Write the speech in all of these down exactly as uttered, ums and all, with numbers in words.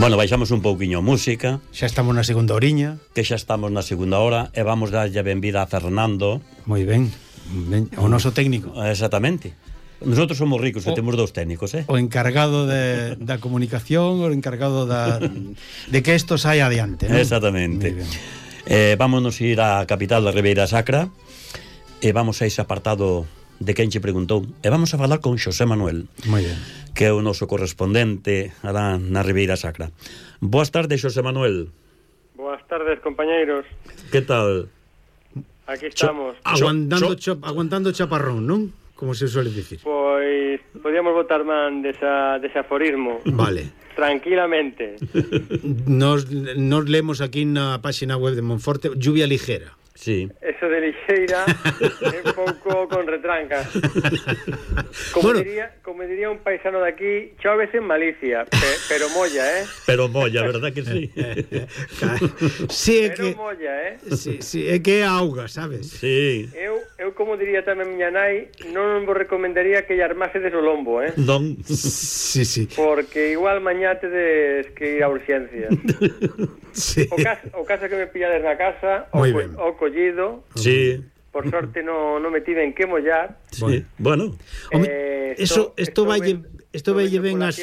Bueno, baixamos un pouquiño música. Xa estamos na segunda oriña. Que xa estamos na segunda hora e vamos darlle a benvida a Fernando. Moi ben, ben. O noso técnico. Exactamente. Nosotros somos ricos e temos dous técnicos, eh? O encargado de, da comunicación, o encargado da, de que isto saia adiante, ¿no? Exactamente. Eh, vámonos ir á capital da Ribeira Sacra e vamos a ese apartado de quen che preguntou e vamos a falar con Xosé Manuel. Moi ben. Que é o noso correspondente alá na Ribeira Sacra. Boas tardes, Xosé Manuel. Boas tardes, compañeiros. Que tal? Aquí estamos. Cho, aguantando, cho, cho, aguantando chaparrón, non? Como se suele dicir. Pois podíamos botar man desa, desa aforismo. Vale. Tranquilamente. Nos, nos leemos aquí na página web de Monforte, lluvia ligera. Sí. Eso de lixeira é un pouco con retranca. Como, bueno, diría, como diría un paisano de aquí, choves en malicia, pe, pero molla, eh? Pero molla, verdad que sí? Sí, é pero que molla, eh? Sí, sí, é que é auga, sabes? Sí. Eu, eu como diría tamén miña nai, non vos recomendaría que lle armasedes o lombo, eh? Non. Sí, sí. Porque igual mañá tedes que ir a urxencias. Sí. O caso, o caso que me pillades na casa, o, co, o collido. Sí. Por sorte non no me tiven que mollar. Sí. Bueno. Eh, eso esto valle isto valle ben as,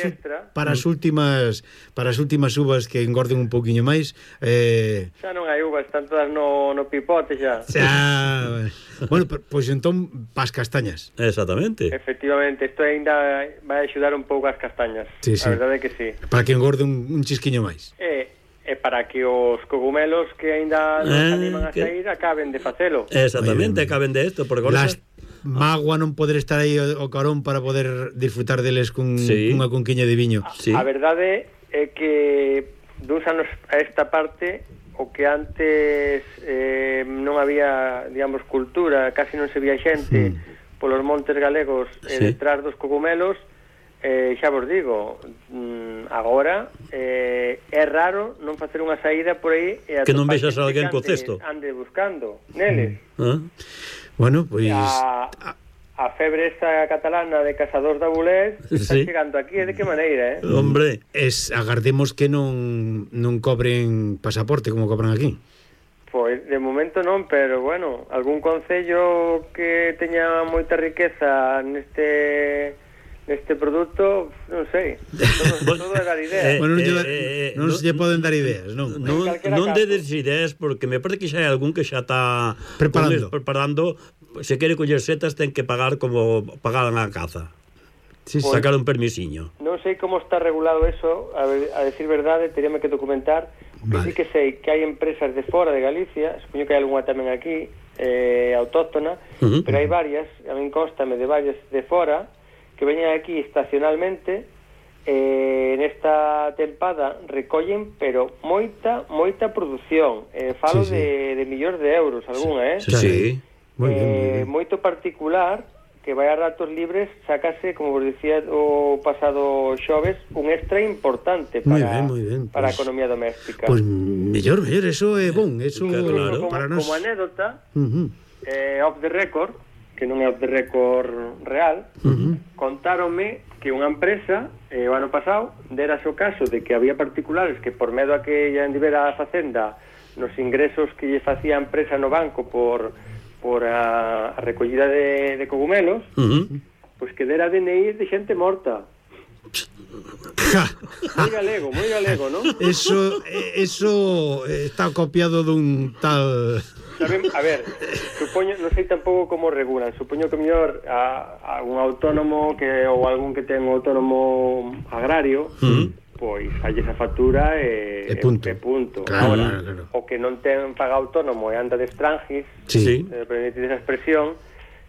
para as últimas para as últimas uvas que engorden un poquiño máis. Eh, xa non hai uvas, están todas no, no pipote xa. Xa. Bueno, pois pues, entón pas castañas. Exactamente. Efectivamente, isto ainda vai axudar un pouco as castañas. Sí, sí. A verdade é que sí. Para que engorde un, un chisquiño máis. Eh E para que os cogumelos que ainda non eh, animan a sair que... acaben de facelo. Exactamente, acaben de esto. Porque Las... Magua non poder estar aí o, o carón para poder disfrutar deles cun, sí. cunha conquiña de viño. A, sí. a verdade é que duns anos a esta parte o que antes eh, non había, digamos, cultura, casi non se vía xente mm. polos montes galegos eh, sí. detrás dos cogumelos. Eh, xa vos digo, mm, agora eh, é raro non facer unha saída por aí e que non vexas a alguén co cesto ande buscando neles. ¿Ah? Bueno, pois pues... a, a febre esta catalana de cazadores de abulés está sí. chegando aquí, de que maneira, eh? Hombre, es, agardemos que non non cobren pasaporte como cobran aquí. Pois de momento non, pero bueno, algún concello que teña moita riqueza neste este producto, non sei, todo, todo é dar ideas. Eh, bueno, non, eh, eh, non no, se lle poden dar ideas, non? Non, non dedes ideas, porque me parece que xa hai algún que xa está preparando, preparando, se quere coller setas ten que pagar como pagaban a caza. Sí, pues, sacar un permisiño. Non sei como está regulado eso, a, ver, a decir verdade, teríame que documentar, vale. Que sí que sei que hai empresas de fora de Galicia, supoño que hai algunha tamén aquí, eh, autóctona, uh-huh. Pero hai varias, a min constame de varias de fora, que veñen aquí estacionalmente eh, nesta tempada recollen pero moita, moita produción eh, falo sí, sí. De, de millóns de euros algunha, eh? Sí, sí. Muy bien, muy eh, bien. Moito particular que vai a ratos libres sacase, como vos dicía o pasado xoves, un extra importante para, muy bien, muy bien. Para pues, a economía doméstica. Pois pues, mellor, mellor, eso é bon, eso claro. Como, para nos... como anécdota uh-huh. eh, off the record, que non é off the record real, uh-huh. contáronme que unha empresa eh, o ano pasado dera o caso de que había particulares que por medo a que lle andivera a facenda nos ingresos que lle facía a empresa no banco por, por a, a recollida de, de cogumelos, uh-huh. Pois que dera D N I de xente morta. Moi galego, moi galego, non? Eso, eso está copiado dun tal... Saben, a ver, supoño, non sei tampouco como regulan, supoño que mellor a, a un autónomo que ou algún que ten un autónomo agrario, uh-huh. Pois hai esa factura e, e punto, e punto. Claro, Ahora, claro, claro. O que non ten paga autónomo e anda de estrangis, sí. eh, permitid esa expresión,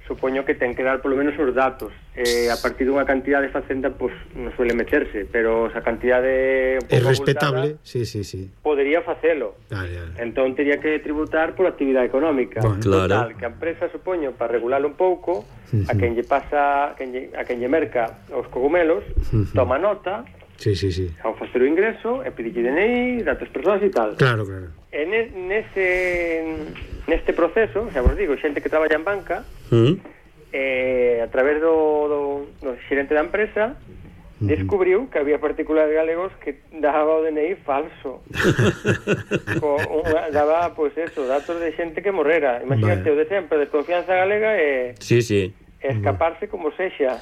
supoño que ten que dar polo menos os datos. Eh, a partir dunha cantidad de facenda, pois pues, non suele meterse, pero esa cantidade é respetable, sí, sí, sí. Podería facelo. Dale, dale. Entón tería que tributar por actividade económica. Bueno, claro. Total, que a empresa, supoño, para regularlo un pouco, uh-huh. a quen lle pasa, a quen lle, a quen lle merca os cogumelos, uh-huh. toma nota. Sí, sí, sí. Ao facer o ingreso, e pedir D N I, datos persoas e tal. Claro, claro. E nese neste proceso, xa vos digo, xente que traballa en banca, uh-huh. eh, a través do, do, do xerente da empresa, descubriu que había particulares galegos que daba o D N I falso. Co, unha, daba, pois pues eso, datos de xente que morrera. Imagínate, vale. O de sempre, desconfianza galega e... Sí, sí. escaparse como sexa.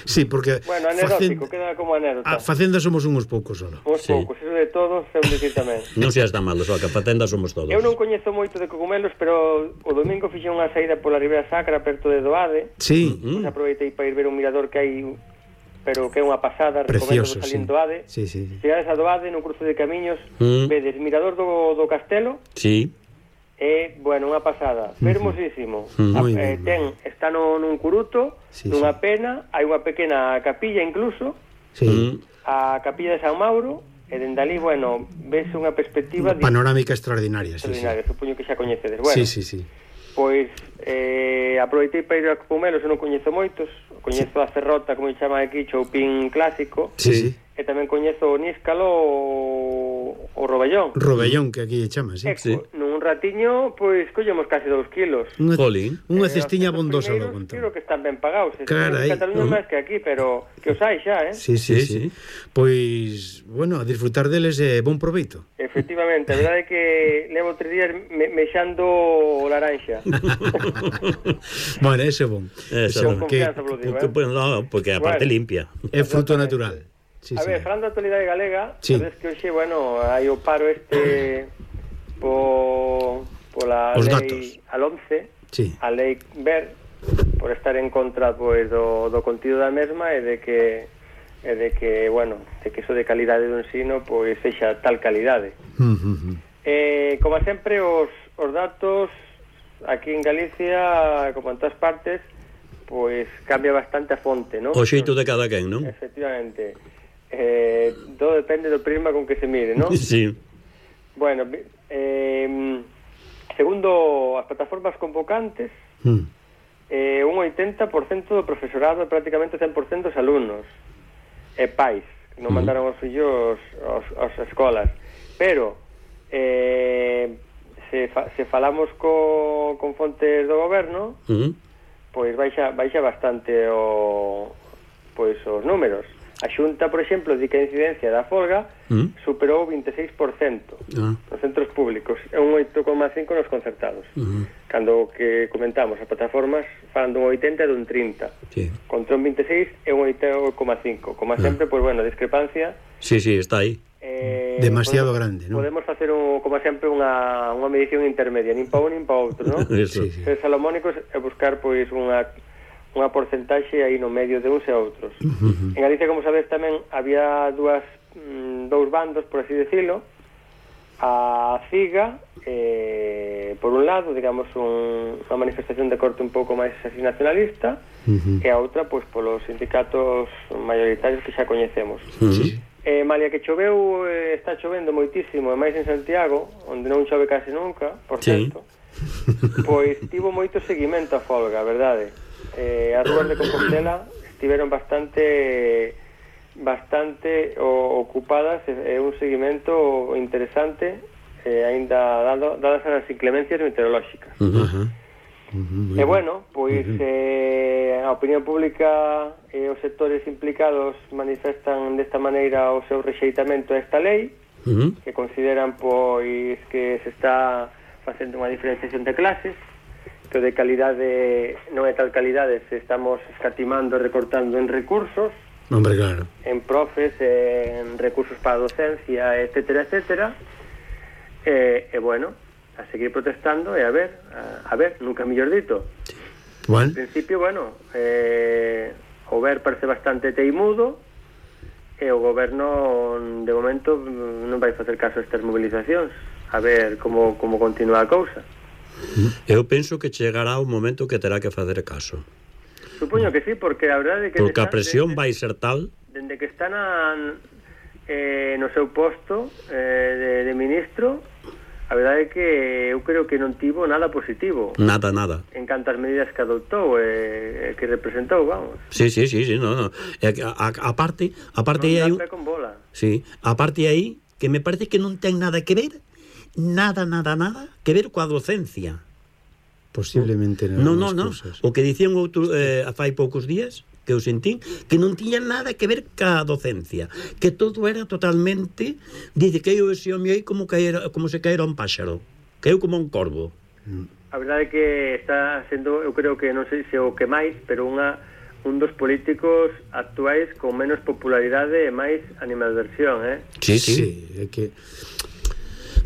Sí, porque... Bueno, anedótico, queda como anécdota. A Facenda somos uns poucos solo. Uns sí. poucos, eso de todos, eu dicir tamén. Non seas tan malo, só que a Facenda somos todos. Eu non coñezo moito de cogumelos, pero o domingo fixen unha saída pola Ribeira Sacra, perto de Doade. Sí. Pues aproveitei para ir ver un mirador que hai, pero que é unha pasada, precioso, recomendo salir sí. Doade. Sí, sí, sí. Chegades a Doade, nun cruce de camiños, mm. vedes mirador do, do castelo. Sí. É, bueno, unha pasada, fermosísimo. Uh -huh. eh, ten, está no, nun curuto, sí, nunha sí. pena, hai unha pequena capilla incluso, sí. a capilla de San Mauro, e dende ali, bueno, ves unha perspectiva... Panorámica extraordinaria, extraordinaria, sí, sí. supoño que xa coñecedes. Bueno, sí, sí, sí. Pois, eh, aproveitei para ir a Cogumelos, eu non coñezo moitos, coñezo sí. a Ferrota, como se chama aquí, Choupín clásico, sí, sí. E tamén coñezo o Níscalo o, o Robellón. Robellón, que aquí chama, sí. E, sí. Nun ratiño, pois, collemos casi dous kilos. Unha, Jolín. Unha cestiña bondosa do conto. Creo que están ben pagados. Claro, en Cataluña uh -huh. máis que aquí, pero que os hai xa, eh? Sí, sí, sí. sí. Pois, bueno, a disfrutar deles é eh, bon proveito. Efectivamente, a verdade é que levo tres días me mexando o laranxa. Bueno, ese é bon. Eso é bon. Que, digo, porque, eh? no, porque a parte bueno, limpia. É fruto natural. Sí, a sí. ver, falando da actualidade galega, sí. sabes que hoxe, bueno, hai o paro este po, pola Os lei datos. al once, sí. a lei ver, por estar en contra pois, do, do contido da mesma e de que e de que, bueno, de que iso de calidade do ensino pois sexa tal calidade. Uh -huh. eh, como sempre, os, os datos aquí en Galicia, como en todas partes, pois cambia bastante a fonte, non? O xeito de cada quen, non? Efectivamente. Eh, todo depende do prisma con que se mire, non? Sí. Bueno, eh, segundo as plataformas convocantes, mm. eh, un oitenta por cento do profesorado e prácticamente cen por cento dos alumnos e pais que non mm. mandaron os fillos aos, aos escolas. Pero eh, se, fa, se falamos co, con fontes do goberno, mm. pois baixa, baixa bastante o, pois os números. A Xunta, por exemplo, di que a incidencia da folga mm. superou o vinte e seis por cento ah. nos centros públicos e un oito coma cinco nos concertados. Uh -huh. Cando que comentamos, as plataformas falan dun oitenta e dun trinta. Sí. Contra un vinte e seis e un oito coma cinco. Como sempre, uh -huh. pois, bueno, a discrepancia... Sí, sí, está aí. Eh, Demasiado podemos, grande, non? Podemos facer, un, como sempre, unha, unha medición intermedia, nin pa un nin pa outro, non? Eso. Sí, sí. Ser salomónicos e buscar, pois, unha... unha porcentaxe aí no medio de uns e outros. Uh -huh. En Galicia, como sabes, tamén había dúas mm, dous bandos, por así decirlo. A CIGA, eh, por un lado, digamos, un, unha manifestación de corte un pouco máis así nacionalista, uh -huh. e a outra, pois, polos sindicatos mayoritarios que xa coñecemos. Uh -huh. eh, Malia que choveu, eh, está chovendo moitísimo, e máis en Santiago, onde non chove case nunca, por certo, sí. Pois tivo moito seguimento a folga, a verdade. Eh, as rúas de Compostela estiveron bastante bastante o, ocupadas e, e un seguimento interesante eh, aínda dado, dadas as inclemencias meteorolóxicas. Uh -huh. Uh -huh. E bueno, pois uh -huh. eh, a opinión pública e os sectores implicados manifestan desta maneira o seu rexeitamento a esta lei, uh -huh. que consideran pois que se está facendo unha diferenciación de clases, que de calidade non é tal calidade se estamos escatimando e recortando en recursos. Hombre, claro. En profes, en recursos para a docencia, etcétera, etcétera. E, e bueno, a seguir protestando e a ver, a, a ver, nunca mellor dito. Bueno. En principio, bueno, eh, o ver parece bastante teimudo e o goberno de momento non vai facer caso a estas movilizacións. A ver como, como continúa a cousa. Eu penso que chegará un momento que terá que facer caso. Supoño que sí, porque a verdade é que... Porque a presión de, vai ser tal... Dende que está na, eh, no seu posto eh, de, de ministro, a verdade é que eu creo que non tivo nada positivo. Nada, nada. En cantas medidas que adoptou e eh, que representou, vamos. Sí, sí, sí, sí, no, no. A, a, a parte, a parte non aí... dá pé con bola. Sí, a parte aí, que me parece que non ten nada que ver... nada, nada, nada que ver coa docencia. Posiblemente non, non, non. O que dicían outro, eh, fai poucos días, que eu sentín, que non tiña nada que ver ca docencia, que todo era totalmente, dice que eu ese home aí como, caera, como se caera un páxaro, que eu como un corvo. A verdade é que está sendo, eu creo que non sei se o que máis, pero unha un dos políticos actuais con menos popularidade e máis animadversión, eh? Sí, sí, sí, é que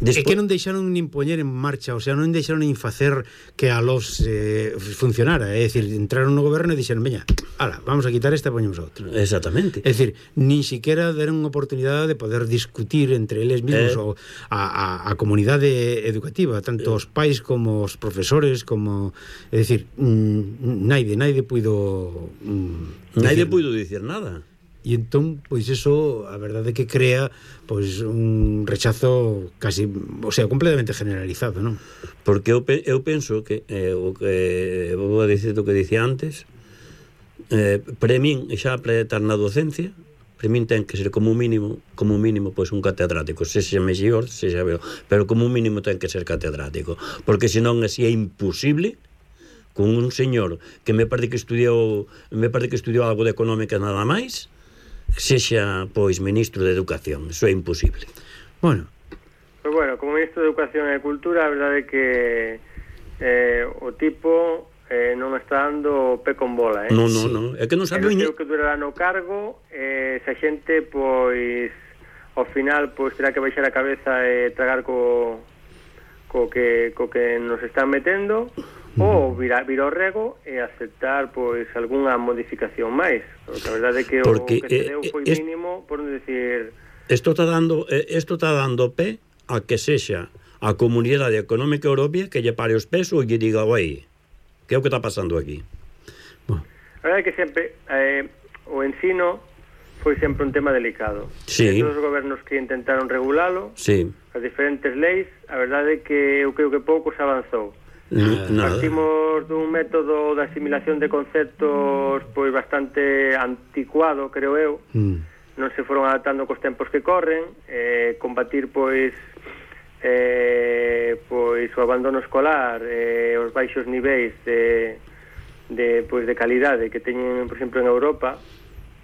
Despo... É que non deixaron nin poñer en marcha, o sea, non deixaron nin facer que a los eh, funcionara, é dicir, entraron no goberno e dixeron, veña, ala, vamos a quitar esta e poñemos a outra. Exactamente. É dicir, nin siquiera deron unha oportunidade de poder discutir entre eles mesmos eh... o, a, a, a comunidade educativa, tanto eh... os pais como os profesores, como, é dicir, mm, naide, naide puido mm, naide puido dicir nada. E entón, pois eso, a verdade é que crea pois un rechazo casi, o sea, completamente generalizado, non? Porque eu, pe eu penso que eh, o que vou a dicir o que dicía antes, eh, para min, xa para estar na docencia, para min ten que ser como mínimo, como mínimo, pois un catedrático, se xa mellor, se xa veo, pero como mínimo ten que ser catedrático, porque senón así é imposible con un señor que me parece que estudiou, me parece que estudiou algo de económica nada máis, sexa, pois, ministro de Educación. Eso é imposible. Bueno. Pois bueno, como ministro de Educación e Cultura, a verdade é que eh, o tipo eh, non está dando pé con bola, eh? Non, non, non. É que non sabe... Non sei o que durará no cargo, eh, se a xente, pois, ao final, pois, terá que baixar a cabeza e tragar co, co, que, co que nos están metendo, ou vir, vir ao rego e aceptar pois algunha modificación máis, porque a verdade é que porque, o que se deu foi eh, mínimo, por non decir... Isto está dando isto está dando pé a que sexa a Comunidade Económica Europea que lle pare os pés ou lle diga, oi, que é o que está pasando aquí? Bueno. A verdade é que sempre eh, o ensino foi sempre un tema delicado. Sí. E todos os gobernos que intentaron regulalo, sí, as diferentes leis, a verdade é que eu creo que pouco se avanzou. Nada. Partimos dun método de asimilación de conceptos pois bastante anticuado, creo eu. Mm. Non se foron adaptando cos tempos que corren, eh, combatir pois eh, pois o abandono escolar, eh, os baixos niveis de, de pois de calidade que teñen, por exemplo, en Europa.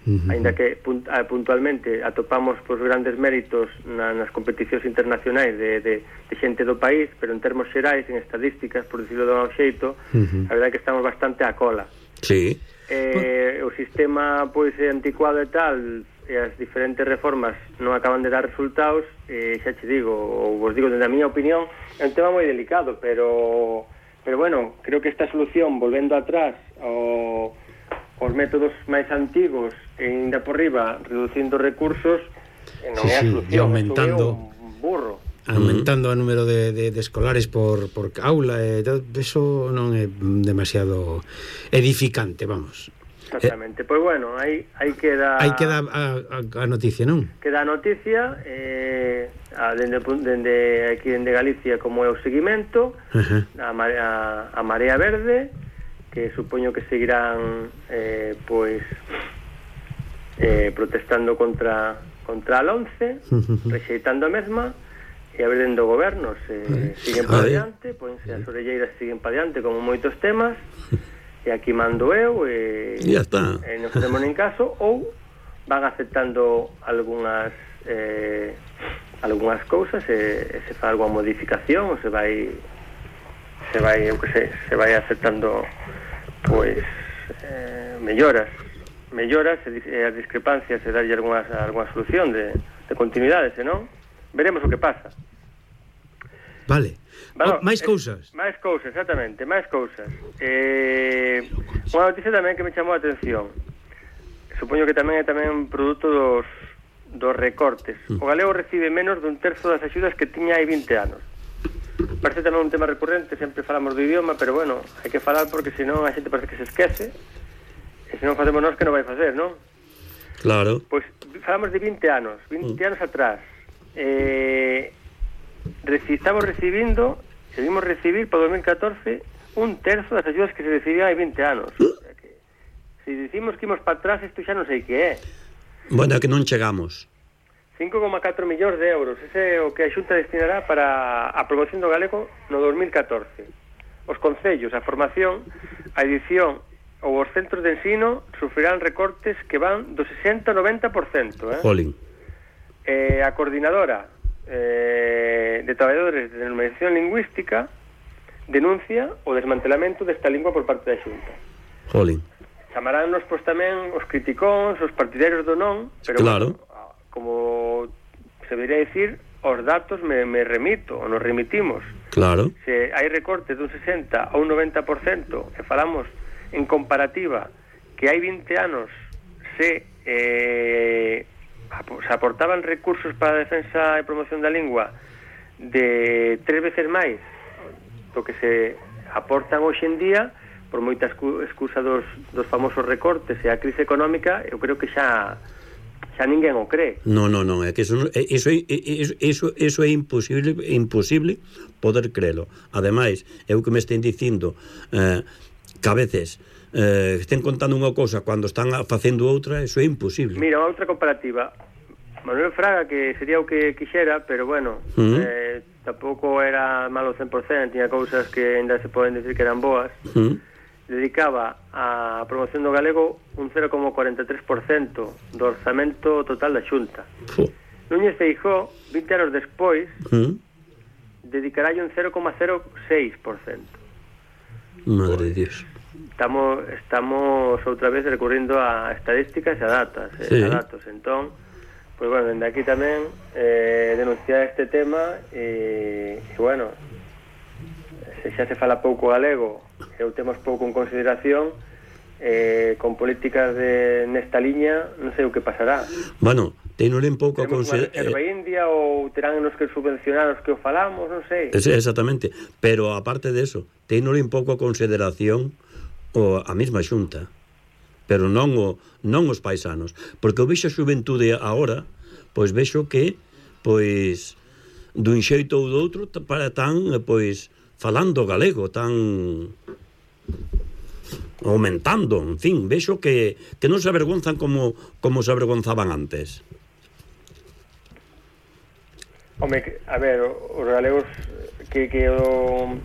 Uh-huh. Ainda que puntualmente atopamos pois, grandes méritos na, nas competicións internacionais de, de, de xente do país, pero en termos xerais, en estadísticas, por decirlo de un xeito, uh-huh, a verdade é que estamos bastante a cola. Sí. Eh, o sistema pois é anticuado e tal, e as diferentes reformas non acaban de dar resultados, e xa che digo, ou vos digo, desde a miña opinión, é un tema moi delicado, pero pero bueno, creo que esta solución, volvendo atrás ao os métodos máis antigos e ainda por riba reducindo recursos, non sí, é a solución, sí, aumentando un burro. Aumentando o número de, de, de escolares por, por aula, e eso non é demasiado edificante, vamos. Exactamente, eh, pois pues bueno, aí, aí queda... Aí queda a, a, a noticia, non? Queda a noticia, eh, a, dende, dende aquí dende Galicia, como é o seguimento, uh-huh, a, marea, a Marea Verde, que supoño que seguirán eh, pois eh, protestando contra contra a LOMCE, rexeitando a mesma, e a ver dentro do goberno se siguen para adiante, poense as orelleiras siguen para adiante como moitos temas, e aquí mando eu e, e está. E non facemos nin caso, ou van aceptando algunhas eh, algunhas cousas e, e se fa algunha modificación ou se vai se vai, eu que sei, se vai aceptando pois eh, melloras melloras e, e as discrepancias e darlle algunha, algunha solución de, de continuidade, senón veremos o que pasa. Vale, bueno, oh, máis cousas eh, máis cousas, exactamente, máis cousas eh, unha noticia tamén que me chamou a atención, supoño que tamén é tamén produto dos, dos recortes. O galego recibe menos dun terzo das axudas que tiña hai vinte anos. Parece tamén un tema recurrente, sempre falamos do idioma, pero bueno, hai que falar porque senón a xente parece que se esquece, e senón facemos nós que non vai facer, non? Claro. Pois falamos de vinte anos, vinte mm. anos atrás. Eh, reci, estamos recibindo, seguimos recibir para dos mil catorce un terzo das axudas que se recibían hai vinte anos. O sea que, se dicimos que imos para atrás, isto xa non sei que é. Bueno, que non chegamos. cinco coma catro millóns de euros, ese é o que a Xunta destinará para a promoción do galego no dos mil catorce. Os concellos, a formación, a edición ou os centros de ensino sufrirán recortes que van do sesenta ao noventa por cento. Eh? Jolín. Eh, a coordinadora eh, de traballadores de normalización lingüística denuncia o desmantelamento desta lingua por parte da Xunta. Jolín. Chamaránnos pois tamén os criticóns, os partidarios do non, pero claro. Bueno, como se debería decir, os datos me, me remito, ou nos remitimos. Claro. Se hai recortes dun sesenta a un noventa por cento, e falamos en comparativa que hai vinte anos se, eh, se aportaban recursos para a defensa e promoción da lingua de tres veces máis do que se aportan hoxe en día, por moita excusa dos, dos famosos recortes e a crise económica, eu creo que xa xa ninguén o cree. No, no, no, é que eso eso eso eso é imposible, imposible poder crelo. Ademais, é o que me estén dicindo, eh, que a veces eh, estén contando unha cousa cando están facendo outra, eso é imposible. Mira, outra comparativa. Manuel Fraga, que sería o que quixera, pero bueno, uh-huh. eh, tampouco era malo cen por cento, tiña cousas que ainda se poden decir que eran boas. Uh-huh. Dedicaba a promoción do galego un cero coma cuarenta e tres por cento do orzamento total da Xunta. Uh. Núñez Feijóo, vinte anos despois, uh. dedicarálle un cero coma cero seis por cento. Madre de Dios. Estamos, estamos outra vez recurrindo a estadísticas e a datas, sí. a datos. Entón, pois bueno, dende aquí tamén eh, denunciar este tema e, e bueno, se xa se fala pouco galego e o temos pouco en consideración, eh, con políticas de nesta liña non sei o que pasará. Bueno, tenole un pouco a considerar reserva eh... india ou terán nos que subvencionar os que o falamos, non sei. Es, exactamente, pero aparte de eso, tenole un pouco a consideración o a mesma Xunta, pero non o non os paisanos, porque o vexo a xuventude agora, pois vexo que pois dun xeito ou do outro para tan pois falando galego, tan aumentando, en fin, vexo que, que non se avergonzan como, como se avergonzaban antes. Home, a ver, os galegos que, que, o,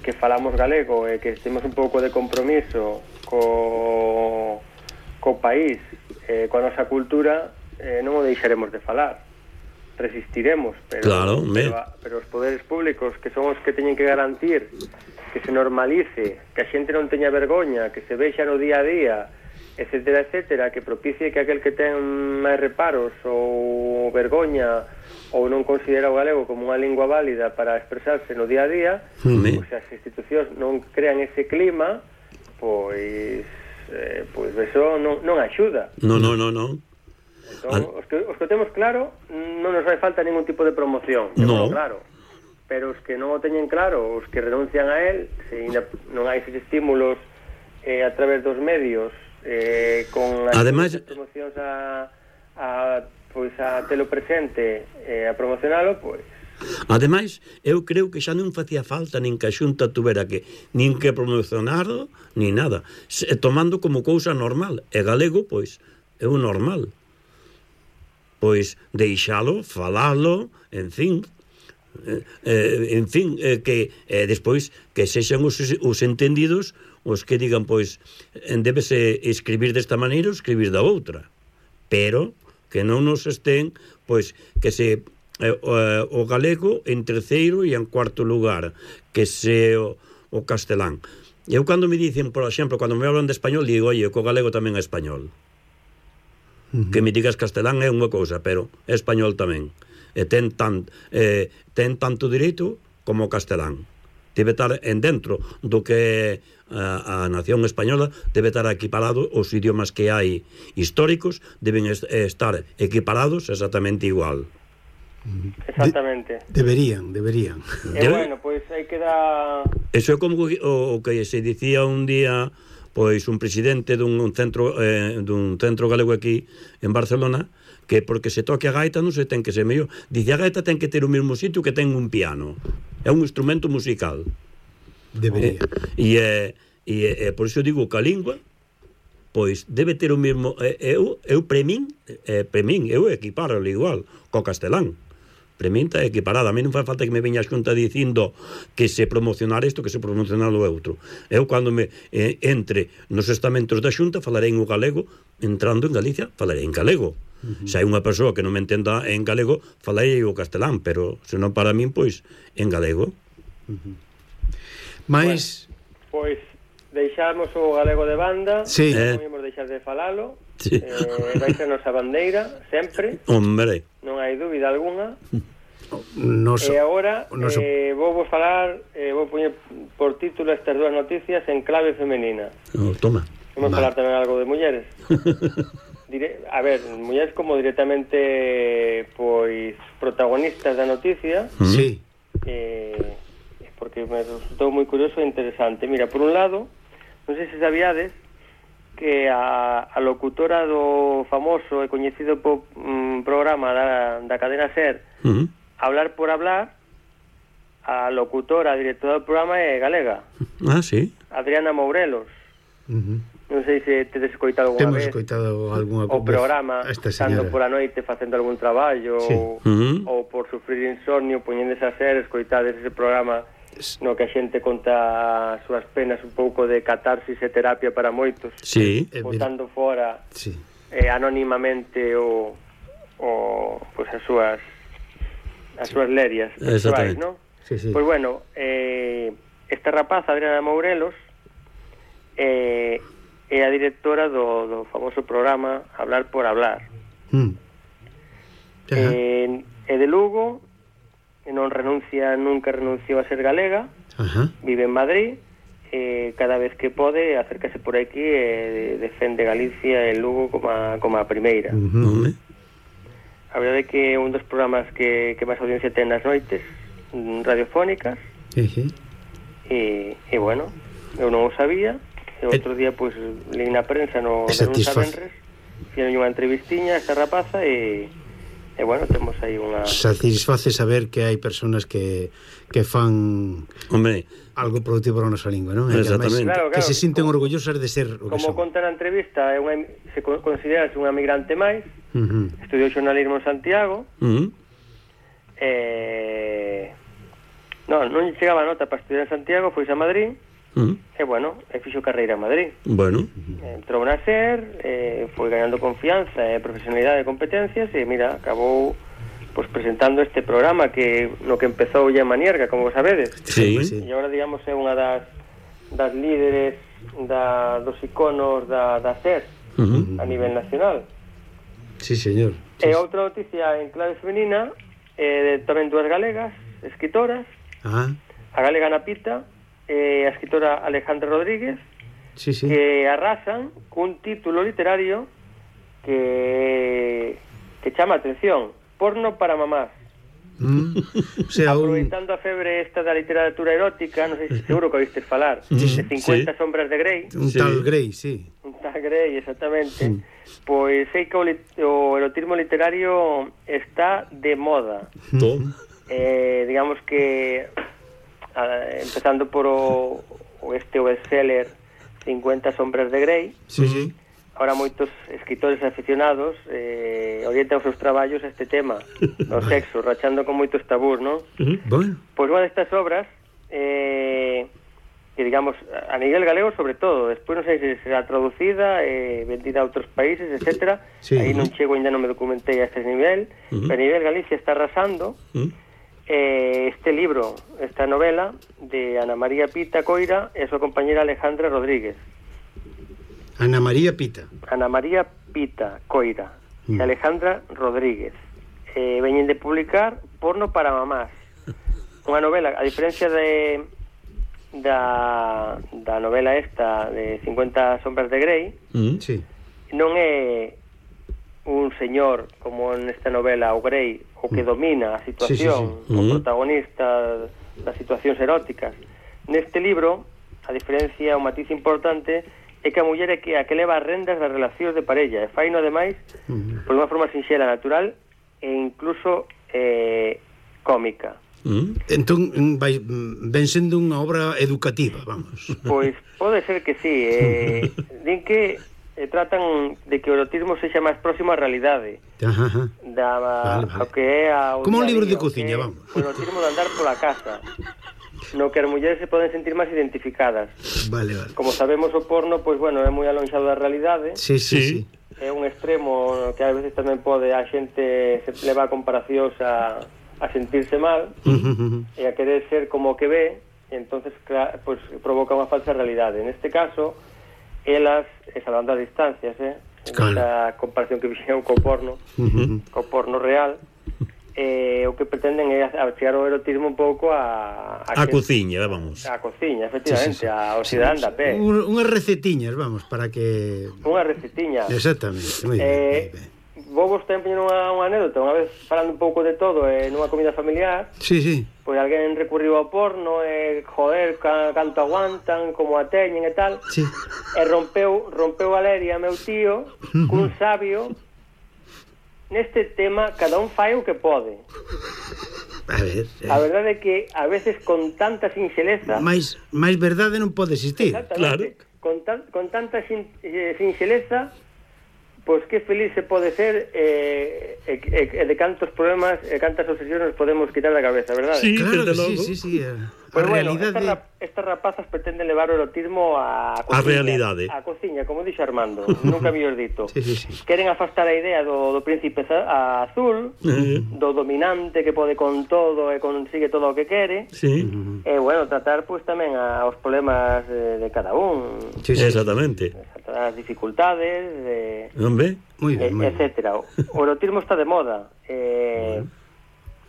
que falamos galego e que temos un pouco de compromiso co, co país, eh, coa nosa cultura, eh, non o deixaremos de falar. Resistiremos, pero, claro, pero, pero os poderes públicos, que son os que teñen que garantir que se normalice, que a xente non teña vergoña, que se vexa no día a día, etcétera, etcétera, que propicie que aquel que ten máis reparos ou vergoña ou non considera o galego como unha lingua válida para expresarse no día a día, mm. pois as institucións non crean ese clima, pois eh, pois eso non, non axuda. No, no, no, no. Entón, os, que, os que temos claro non nos vai falta ningún tipo de promoción, no. Claro, pero os que non o teñen claro, os que renuncian a él, se non hai esos estímulos eh, a través dos medios eh, con as Además, promocións a, a, pois a telo presente eh, a promocionalo, pois ademais, eu creo que xa non facía falta nin que a Xunta tuvera que nin que promocionarlo, nin nada, se, tomando como cousa normal, e galego, pois, é o normal. Pois deixalo, falalo, en fin, eh, eh, en fin, eh, que eh, despois que sexan os, os entendidos os que digan, pois, débese escribir desta maneira ou escribir da outra, pero que non nos estén, pois, que se eh, o, o galego en terceiro e en cuarto lugar, que se o, o castelán. Eu cando me dicen, por exemplo, cando me hablan de español, digo, oye, que o galego tamén é español. Que me digas castelán é unha cousa, pero é español tamén. E ten, tan, eh, ten tanto direito como o castelán. Debe estar en dentro do que a, a nación española, debe estar equiparado, os idiomas que hai históricos deben est estar equiparados exactamente igual. Exactamente. De, deberían, deberían. E eh, bueno, pois pues, aí queda... Eso é como o, o que se dicía un día... pois un presidente dun centro eh, dun centro galego aquí en Barcelona, que porque se toque a gaita non se ten que ser mellor. Dice, a gaita ten que ter o mesmo sitio que ten un piano. É un instrumento musical. Debería. E eh, e, eh, por iso digo que a lingua pois debe ter o mesmo eh, eu eu pre min, eh, pre min eu equiparo igual co castelán. Para min está equiparada. A mí non fai falta que me veña a Xunta dicindo que se promocionar isto, que se promocionar o outro. Eu, cando me eh, entre nos estamentos da Xunta, falarei en o galego. Entrando en Galicia, falarei en galego. Uh-huh. Se hai unha persoa que non me entenda en galego, falarei o castelán, pero se non para min, pois, en galego. Uh-huh. Mais... Bueno, pois, deixamos o galego de banda, sí. non podemos deixar de falalo, sí. eh, vai ser nosa bandeira, sempre. Hombre. Non hai dúbida alguna. Noso, e agora noso... eh, vou vos falar, eh, vou poñer por título estas dúas noticias en clave femenina. Oh, toma. Vamos a falar tamén algo de mulleres. Dire, a ver, mulleres como directamente pois protagonistas da noticia. Sí. Eh, porque me resultou moi curioso e interesante. Mira, por un lado, non sei se sabíades que a, a locutora do famoso e coñecido po, um, programa da, da cadena SER, uh-huh. Hablar por hablar, a locutora, a directora do programa é galega. Ah, sí? Adriana Mourelos. Uh-huh. Non sei se tedes escoitado alguna Temos vez escoitado alguna o programa estando por a noite facendo algún traballo, sí. ou, uh-huh. ou por sufrir insomnio poñéndese a ser, escoitades ese programa no que a xente conta as súas penas, un pouco de catarsis e terapia para moitos, sí. botando fora sí. eh, anónimamente o, o pues as súas as súas lerias sexuais, ¿no? Sí, sí. Pois bueno, eh, esta rapaza, Adriana Mourelos, eh, é a directora do, do famoso programa Hablar por Hablar. Mm. Eh, é de Lugo, e non renuncia, nunca renunciou a ser galega. Ajá. Vive en Madrid, e cada vez que pode acércase por aquí e defende Galicia e Lugo como a, como a primeira. Uh-huh. A verdade é que é un dos programas que, que máis audiencia ten nas noites radiofónicas. Uh-huh. e, e bueno, eu non o sabía. E outro día, pois, pues, leí na prensa no de lunes a venres, fixeron unha entrevistiña a esta rapaza e, e bueno, temos aí unha... Satisface saber que hai personas que, que fan Hombre. algo productivo para a nosa lingua, non? Exactamente. Que, claro, claro, que se sinten como, orgullosas de ser o que como son. conta na entrevista, é unha, se considera unha migrante máis, uh-huh. Estudiou xornalismo en Santiago, uh-huh. e... non, non chegaba a nota para estudiar en Santiago, foi a Madrid, uh-huh. E bueno, e fixo carreira en Madrid. Bueno. Entrou na SER, eh, foi ganando confianza e profesionalidade e competencias, e mira, acabou pues, presentando este programa que no que empezou ya en Manierga, como sabedes. Sí. E agora, digamos, é unha das, das líderes da, dos iconos da, da SER uh-huh. a nivel nacional. Sí, señor. E sí. Outra noticia en clave femenina, eh, tamén dúas galegas, escritoras, ah. a galega Ana Pita, e a escritora Alejandra Rodríguez, sí, sí. que arrasan cun título literario que que chama a atención, Porno para mamás. Mm, o sea, aproveitando un... a febre esta da literatura erótica, non sei se seguro que oístes falar, mm, de cincuenta sí. sombras de Grey. Un sí. tal Grey, sí. Un tal Grey, exactamente. Mm. Pois sei que o, lit o erotismo literario está de moda. Mm. Eh, digamos que Uh, empezando por o, o este o bestseller cincuenta sombras de Grey. Sí, sí. Ahora moitos escritores aficionados eh, orientan os seus traballos a este tema do sexo, rachando con moitos tabús, non? Uh-huh. Bueno. Pois unha destas obras eh, que digamos a nivel galego sobre todo, despois non sei se será traducida e eh, vendida a outros países, etcétera. Sí, aí uh-huh. non chego, ainda non me documentei a este nivel, uh-huh. pero a nivel Galicia está arrasando. Uh-huh. Eh, este libro, esta novela de Ana María Pita Coira e a súa compañera Alejandra Rodríguez. Ana María Pita Ana María Pita Coira mm. e Alejandra Rodríguez eh, veñen de publicar Porno para mamás, unha novela, a diferencia de da, da novela esta de cincuenta sombras de Grey, mm. sí. non é un señor como nesta novela o Grey o que domina a situación, sí, sí, sí. o uh-huh. protagonista das situacións eróticas. Neste libro, a diferencia, o matiz importante é que a muller é que a que leva as rendas das relacións de parella e fai no demais uh-huh. por unha forma sinxela, natural e incluso eh, cómica. Uh-huh. Entón, vai, ven sendo unha obra educativa, vamos. Pois pode ser que sí. Eh, din que e tratan de que o erotismo sexa máis próximo á realidade. Ajá, ajá. Da, Vale, vale. ao que é a Como un libro de cociña, vamos. O erotismo de andar pola casa, no que as mulleres se poden sentir máis identificadas. Vale, vale. Como sabemos, o porno, pois bueno, é moi alonxado da realidade. Sí, sí, sí. É un extremo que a veces tamén pode a xente se leva a comparacións a, a sentirse mal Uh -huh. e a querer ser como o que ve, e entonces claro, pues, provoca unha falsa realidade. Neste caso, elas, salvando as distancias, eh, claro. esta comparación que fixeron co porno, Uh -huh. co porno real, eh, o que pretenden é chegar o erotismo un pouco a... A, a cociña, vamos. A cociña, efectivamente, sí, sí, sí. ao cidadán da pé. Un, unhas recetiñas, vamos, para que... Unha recetiña. Exactamente, moi eh, ben. Vou vos tamén unha, unha anécdota, unha vez falando un pouco de todo eh, nunha comida familiar. Sí, sí. Pois alguén recurriu ao porno e, joder, ca, canto aguantan, como a teñen e tal. Sí. E rompeu, rompeu a leria meu tío cun sabio. Neste tema, cada un fai o que pode. A ver... Eh. A verdade é que, a veces, con tanta sinxeleza... Mais, máis verdade non pode existir. Exactamente. Claro. Con, tan, con tanta sin, eh, sinxeleza... Pois que feliz se pode ser e eh, eh, eh, de cantos problemas e eh, cantas obsesiones nos podemos quitar da cabeza, verdade? Sí, claro que sí, sí, sí. A, pues a bueno, realidade... estas, rap estas rapazas pretenden levar o erotismo a cociña, a realidade. A cociña, como dixo Armando, nunca mellor dito. Sí, sí, sí. Queren afastar a idea do, do príncipe azul, uh -huh. do dominante que pode con todo e consigue todo o que quere. Sí. Uh -huh. E, bueno, tratar, pois, pues, tamén a, os problemas de, de cada un. Sí, sí. Exactamente. As dificultades, de... Hombre, muy bien, muy etcétera. O erotismo está de moda. Eh,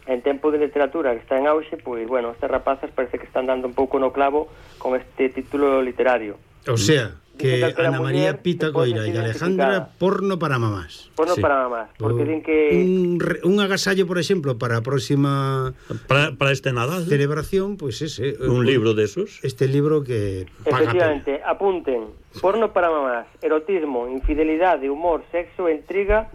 en tempo de literatura que está en auxe, pois, bueno, estas rapazas parece que están dando un pouco no clavo con este título literario. O sea, que Ana María Pita Coira e Alejandra, porno para mamás. Porno sí. para mamás, porque o, din que... Un, un agasallo, por exemplo, para a próxima... Para, para este Nadal. Celebración, pois pues ese. Un, un libro de esos. Este libro que... Efectivamente, paga apunten. Porno para mamás, erotismo, infidelidade, humor, sexo e intriga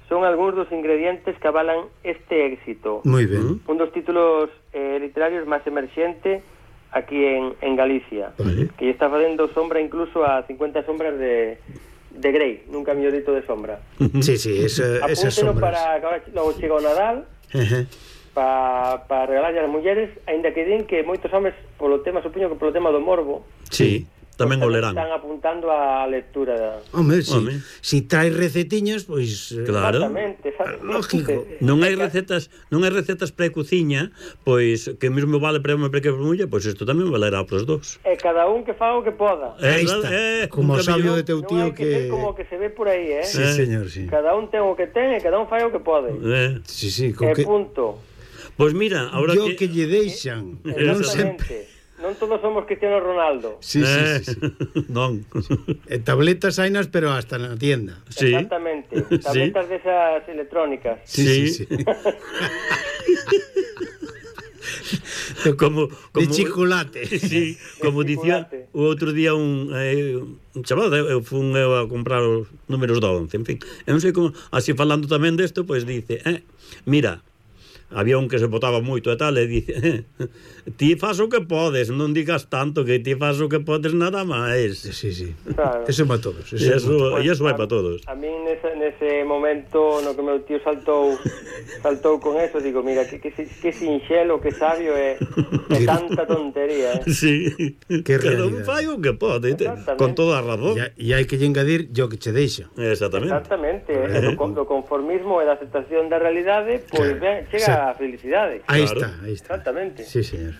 son algúns dos ingredientes que avalan este éxito. Moi ben. Un dos títulos eh, literarios máis emerxente aquí en, en Galicia, vale. Que está facendo sombra incluso a cincuenta sombras de, de Grey, nunca mellor dito de sombra. Sí, sí, esa, esas sombras. Para que agora logo chega o Nadal, uh -huh. para pa regalarlle ás mulleres, aínda que din que moitos homes, polo tema, supoño que polo tema do morbo, sí, tamén o lerán. Están apuntando á lectura da... Hombre, si, Home. si trae recetiñas, pois... Claro. Exactamente, exactamente. Lógico. Non hai recetas, non hai recetas para cociña, pois que mesmo vale para home para que para muller, pois isto tamén valerá para os dous. E cada un que faga o que poda. Aí está. Eh, como o sabio de teu tío que... Non hai que ser como que se ve por aí, eh? Sí, eh. señor, sí. Cada un ten o que ten e cada un fai o que pode. Eh. Sí, sí, con e que... punto. Pois mira, ahora Yo que... que lle deixan. Non sempre. Non todos somos Cristiano Ronaldo. Sí, eh, sí, sí, sí. Non. E tabletas hainas, pero hasta na tienda. Sí. Exactamente. Tabletas sí. de esas electrónicas. Sí, sí, sí. sí. como, como de chocolate. Sí, como dicía o outro día un, eh, un chaval, eu fun eu a comprar os números do once, en fin. Eu non sei como, así falando tamén desto, pois pues dice, eh, mira, había un que se botaba moito e tal, e dice, eh, ti faz o que podes, non digas tanto, que ti faz o que podes nada máis. Sí, sí. Claro. Eso vai para todos. Eso, eso, pues, e eso vai para todos. A mí nese, nese momento no que meu tío saltou saltou con eso, digo, mira, que, que, que sinxelo, que sabio e, e tanta tontería, eh? Sí, que cada un fai o que pode, con toda a razón. E hai que lle engadir yo que che deixo. Exactamente. Exactamente, eh. do, do conformismo e da aceptación da realidade, pois pues, ben, chega sí. a felicidade. Aí claro. está, aí está. Exactamente. Sí, señor.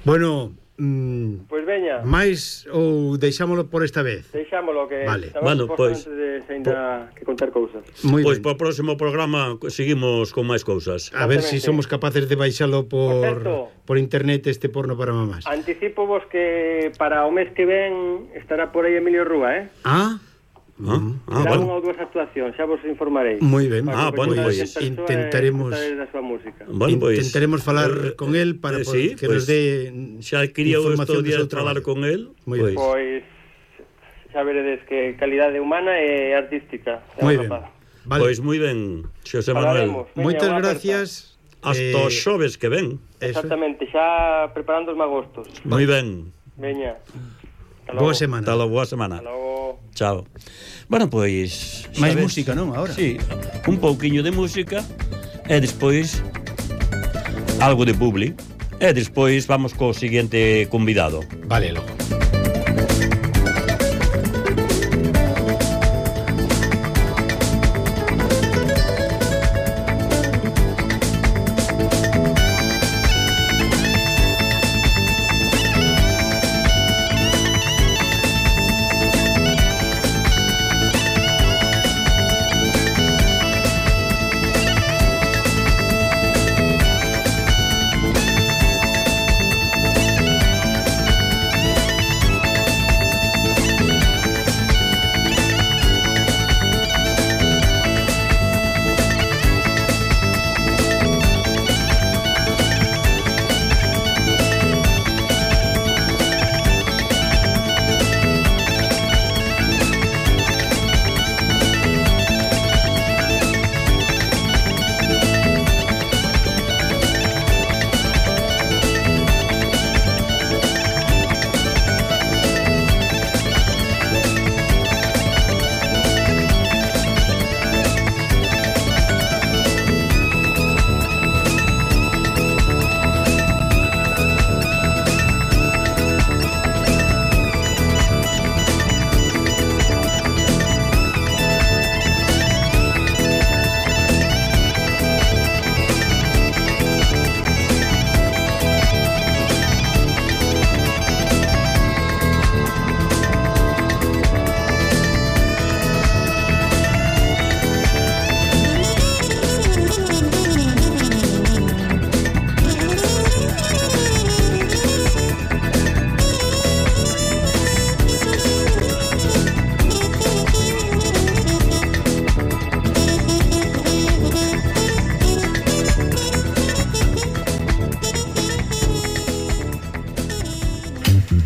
Bueno, mm, pois pues veña. Mais ou deixámolo por esta vez? Deixámolo que vale. Bueno, pois pues, de ainda que contar cousas. Pois pues, para o próximo programa seguimos con máis cousas. A ver se si somos capaces de baixalo por por, por internet este porno para mamás. Anticipo vos que para o mes que ven estará por aí Emilio Rúa, eh? Ah. Ah, ah, Será bueno. unha ou dúas actuacións, xa vos informarei. Moi ben. Ah, bueno, pois intentaremos da súa música. Bueno, pues, intentaremos falar eh, con el para eh, sí, que pues, nos dé xa quería estos días falar con el. Pois pues, xa veredes que calidade humana e artística. Moi ben. Vale. Pois moi ben, Xosé Manuel. Moitas gracias. Hasta os xoves que ven. Exactamente, xa preparando os magostos. Moi ben. Veña. Boa semana. Hasta logo, boa semana. Hasta logo. Chao. Bueno, pois... máis música, non, agora? Sí, un pouquiño de música e despois algo de publi e despois vamos co seguinte convidado. Vale, logo.